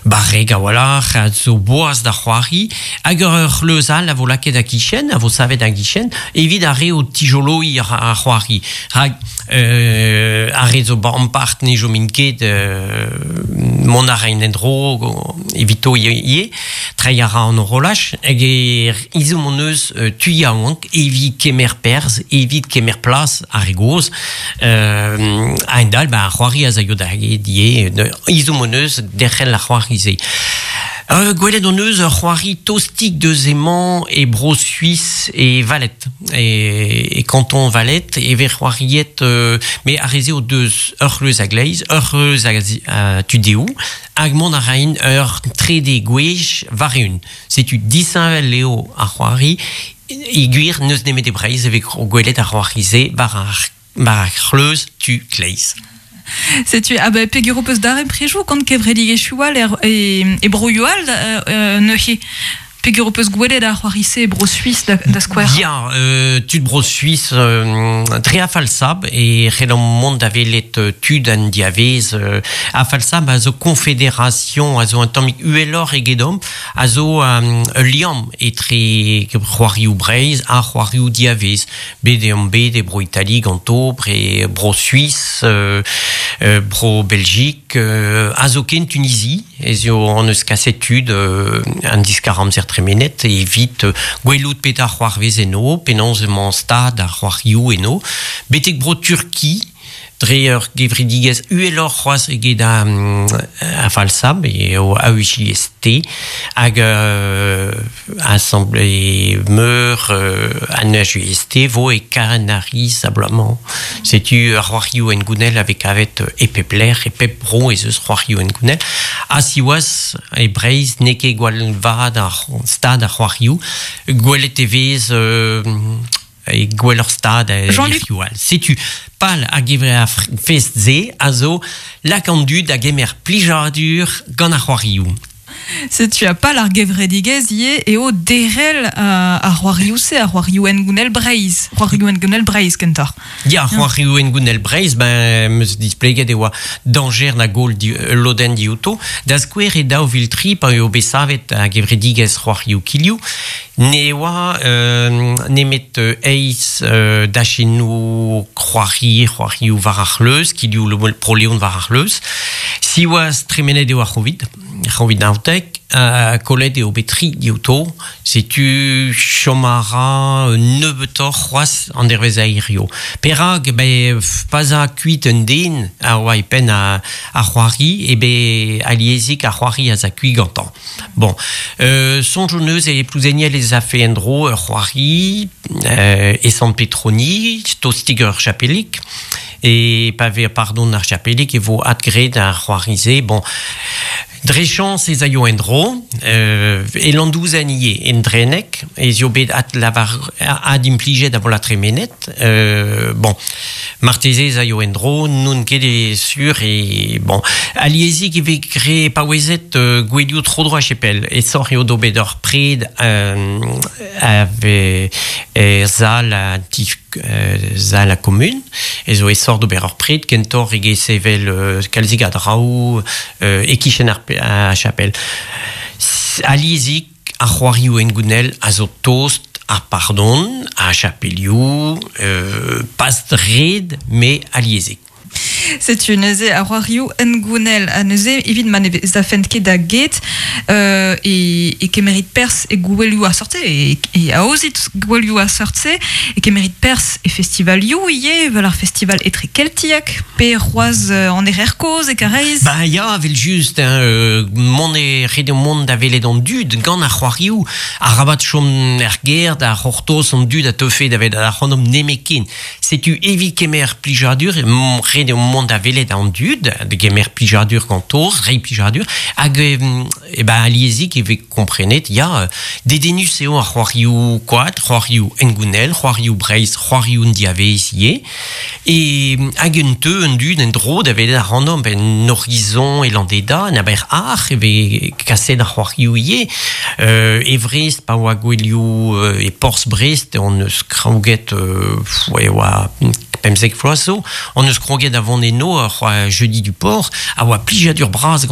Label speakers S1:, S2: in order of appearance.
S1: Barrek a-walc'h, a zo boaz da c'hoari, hag ur c'hleuz all a vo lakaet a-gichen, a vo savet a-gichen, evit ar re o tijoloiñ ar c'hoari. Rak ar re zo ampart ne chomint ket, mont a raint en-dro evito ivez, treiñ a ra an horolaj, hag ezhomm hon eus tu yaouank evit kemer perzh, evit kemer plas ar re gozh. A-hend-all, ba, ar c'hoari a zaio da get ivez, ezhomm hon eus derc'hel ar c'hoari-se. Gwelet hon eus ur c'hoari tostik deus emañ e Bro-Suis e Vallet, e kanton Vallet, e vez c'hoariet, met ar re-se o deus ur c'hleuz a-gleiz, ur c'hleuz a tu dehou, hag mont a raint ur trede gwech war-eeun. Setu disheñvel eo ar c'hoari, e gwir n'eus nemet e Breizh e vez gwelet ar c'hoari-se war ar c'hleuz tu kleiz.
S2: Setu, ah ben, peger ho peus daremprejoù gant kevredigezhioù all er, e, e broioù all euh, neuze? Peger ho peus gwelet ar c'hoari-se e Bro-Suis da, da skouer?
S1: Ya, euh, tud Bro-Suis euh, dre a falsab e c'hellomp mont da welet euh, tud an diavez. Euh, a falsab a zo confédération, a zo un tammig uheloc'h egedomp, a zo um, ul liamm etre c'hoarioù Breizh ha c'hoarioù diavez. Bet eo omp bet e Bro-Itali ganto, bre Bro-Suis, Bro-Beljik, ha zoken Tunizi, ez eo hon eus kaset tud an diskar-amzer tremenet evit gwelout petra c'hoarvez eno, penaos emañ stad ar c'hoarioù eno, betek Bro-Turki, Dre ur gevredigezh uheloc'h c'hoazh eget ar falsab eo AUJST hag Asamble meur an AJST vo e Kanariz abalamour. Setu ar c'hoarioù hengounel a vez kavet e pep lec'h, e pep bro ez eus c'hoarioù hengounel. Ha siwazh e Breizh n'eo ket gwall vat ar stad ar c'hoarioù. Gwelet e vez e gwelloc'h stad
S2: Jean-Luc
S1: all. Setu pal ar gevread fest-se a zo lak an dud da gemer plijadur gant ar c'hoarioù.
S2: Setu ha pal ar gevredigezh ivez eo derc'hel ar c'hoarioù-se, ar c'hoarioù hengounel Breizh, c'hoarioù hengounel Breizh kentoc'h.
S1: Ya, c'hoarioù hengounel Breizh, ben, 'm eus displeget e oa dañjer da goll ul lodenn diouto. Da skouer e 2003, pa eo bet savet ar gevredigezh c'hoarioù kilhoù, Ne oa nemet eizh dachennoù c'hoari, c'hoarioù war ar c'hleuz, kilhoù Bro-Leon war ar c'hleuz. Siwazh, tremenet eo ar C'hovid, C'hovid naontek, kollet eo bet tri diouto. Setu chom a ra nebeutoc'h c'hoazh an dervezh a hirio. Perak? Ben, pa 'z a kuit un den a oa e penn ar c'hoari, eo bet aliezik ar c'hoari a 'z a kuit gantañ. Bon, soñj hon eus e Plouzeniel ez afe en-dro ur c'hoari e Sant-Petroni, tostik ur chapelig. E pa vez pardon ar chapelig e vo adgraet ar c'hoari-se. Bon, dre chañs ez aio en-dro. E Landouzen ivez, en Dreneg, ez eo bet adlavar, adimplijet a vo tremenet. Bon, Marteze ez aio en-dro, n'on ket sur e bon. Aliezik e vez graet paouezet gouelioù tro-dro a-chapel. Aesoc'h eo d'ober ur pred er sal a ti sal a kommun. Ez eo aesoc'h d'ober ur pred kentoc'h eget sevel kalzik a draoù e-kichen ar chapel. Aliezik Ar c'hoarioù hengounel a zo tost ar pardon, ar chapelioù, pas ret, met aliezik.
S2: Setu neuze ar c'hoarioù hengounel ha neuze evit ma ne zafent ket da get e, e kemerit perzh e gouelioù ar seurt-se e, e aozit gouelioù ar seurt-se e kemerit perzh e festivalioù ivez evel ar festival etrekeltiek pe c'hoazh an Erer Kozh e Karaez.
S1: Ba ya, evel-just, hein, mont eo ret eo mont da welet an dud gant ar c'hoarioù. Arabat chom er gêr da c'hortoz an dud a teufe da welet ac'hanomp nemetken. Setu evit kemer plijadur, ret eo mont da welet an dud, da gemer plijadur ganto, reiñ plijadur, hag e ben aliezik e vez komprenet, ya, dedennus eo ar c'hoarioù koad, c'hoarioù hengounel, c'hoarioù Breizh, c'hoarioù diavaez ivez. E hag un teu un dud en-dro da welet ac'hanomp en Horizon e Landeda, en Aber-Ac'h e vez kaset ar c'hoarioù ivez. E Vrest, pa oa gouelioù e porzh Brest, hon eus kroget e oa 15 vloaz zo, hon eus kroget da vont eno ur jeudi du port, a oa plijadur bras gant